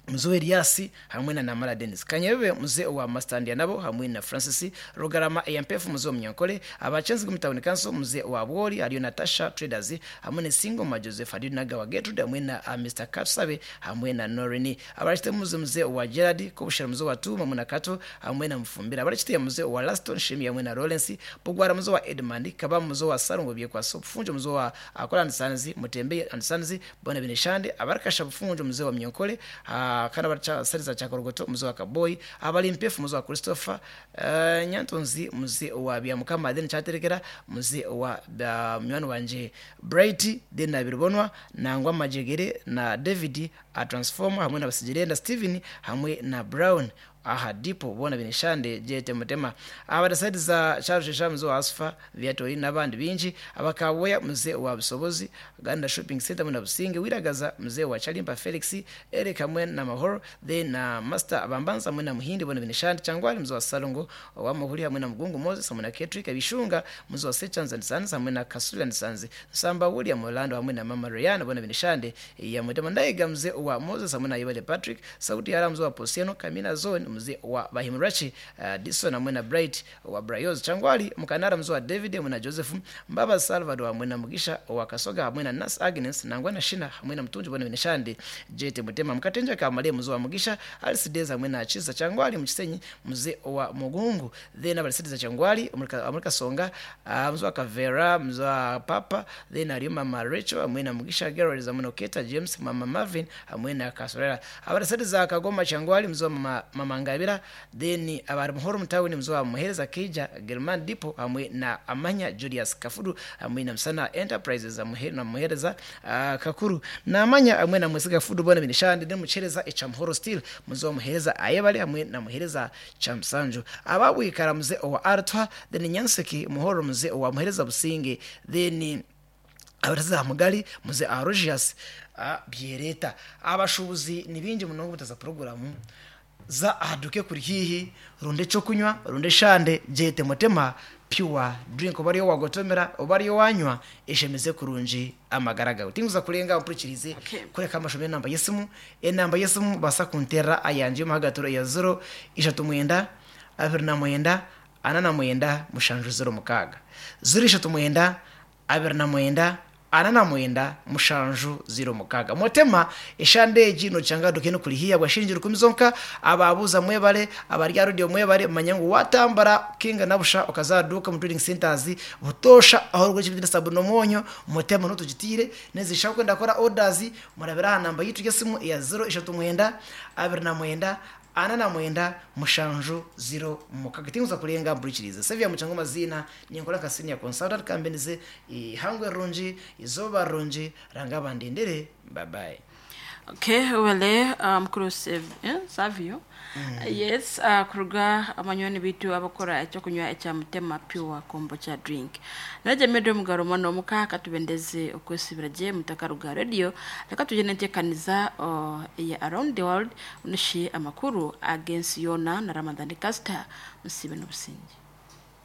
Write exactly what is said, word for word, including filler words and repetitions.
Mzee Elias hamwe na Namara Dennis Kanyebe, mzee wa Mastandia nabo hamwe na Francis Rugarama Eyampefu, mzee wa Munyankole abachenzi mu town council, mzee wa Bwori ariyo Natasha Traders hamwe na Singoma Joseph ariyo Nagawa Gertrude hamwe na uh, Mister Katsabe hamwe na Norini abarachite mzee mzee wa Gerard Kobushera, mzee wa Tuma hamwe na Kato hamwe na Mfumbira abarachite mzee wa Laston Shimi hamwe na Lawrence Bugwara, mzee wa Edmund Kaba, mzee wa Sarungo Byekwa Sofunjo, mzee wa Akola and Sons Mutembe and Sons Bona Binishande abarakasha Bufunjo, mzee wa Munyankole uh, kana baracha sariza chakorogoto, mzee wa Kaboy abali mpefu, mzee wa Christopher uh, Nyantonzi, mzee wa Byamukama then chaterekera mzee wa uh, mnywani wanje Bright then na Birubonwa nangwa Majegere na David a Transformer hamwe na Basijirenda Steven hamwe na Brown aha dipo bona binishande jete mutema abadasaidiza Charles Shamzo Asfa Viatori n'abandi bingi abakaboya mzee wa Busobozi Ganda Shopping Center muna Businge wiragaza mzee wa Chalimba Felix Eric hamwe na Mahoro then na Master Abambanza hamwe na Muhindi bona binishande Changwali mzee wa Salongo wa Muhuri hamwe na Mugungu Moses hamwe na Ketrick Abishunga mzee wa Sechans and Sons hamwe na Kasuli and Sons Samba William Orlando hamwe na Mama Ryan bona binishande ya mutema Ndaiga mzee wa Moses hamwe na Ibale Patrick Sauti ya mzee wa Posiano Kamina Zone mzee wa Bahimurachi uh, Dison hamwe na Bright wa Brayoz Changwali Mkanara mzee wa David hamwe na Joseph Mbaba Salvador hamwe na Mugisha wa Kasoga hamwe na Nas Agnes nangwa na Shina hamwe na Mtunji bona binishande Jete Mutema Mkatenja Kamale mzee wa Mugisha Alice Deza hamwe na Chiza Changwali Mchisenyi mzee wa Mugungu then abalisitiza Changwali Amurika Songa uh, mzee wa Kavera mzee wa Papa then ariyo Mama Rachel hamwe na Mugisha Gerald hamwe na Oketa James Mama Marvin hamwe na Kasorera abalisitiza Kagoma Changwali mzee wa Mama, Mama Ngabira then abari muhoro mutawuni mzee wa Muhereza Keija German Dipo hamwe na Amanya Julius Kafudu hamwe na Msana Enterprises hamwe na Muhereza uh, Kakuru na Amanya hamwe na Mwesiga Fudu bona binishande then muchereza echamuhoro steel mzee wa Muhereza Ayebale hamwe na Muhereza Chamsanju ababwikara mzee wa Artwa then Nyanseki muhoro mzee wa Muhereza Businge then abareza mugali mzee Arogius byereta abashubuzi ni bingi munongo butaza programu za aduke kuri hihi runde cyo kunywa runde shande jete mutema pure drink obariyo wagotomera obariyo wanywa eshemeze kurungi amagara gawe tinguza kurenga mpurikirize Okay. kureka amashomo enamba yesimu enamba yesimu basa kuntera ayanje muhagaturo ya zero ishatu mwenda abiri na mwenda ana na mwenda mushanju zero mukaga zero ishatu mwenda abiri na mwenda ana na mwenda mushanju zero mukaga motema eshandeji nochanga dukene kulihia bwashinji rukumi zonka ababuza mwebale abarya radio mwebale manya ngu watambara kinga nabusha okazaduka mu trading centers butosha aho rwo kibidira sabu nomonyo motema notugitire nezisha kwenda kora orders murabira namba yitu yesimu ya zero ishatu mwenda abiri na mwenda ana na mwenda mushanju zero mukaga tinguza kulenga mburikirize sevya muchango mazina ninkola ka senior consultant companies ihangwe runji izoba runji ranga bandendere bye bye. Okay, wele mukuru um, Savio. Yes, uh, kuruga amanywani bitu abakora ekyokunywa ekya mutema pure kombucha drink. Naje medo mugaro mwana omuka katubendeze okwesibira je mutakaruga radio leka tujye ntekaniza uh, ya around the world unishi amakuru against yona na Ramadhani Caster musibe n'obusinge.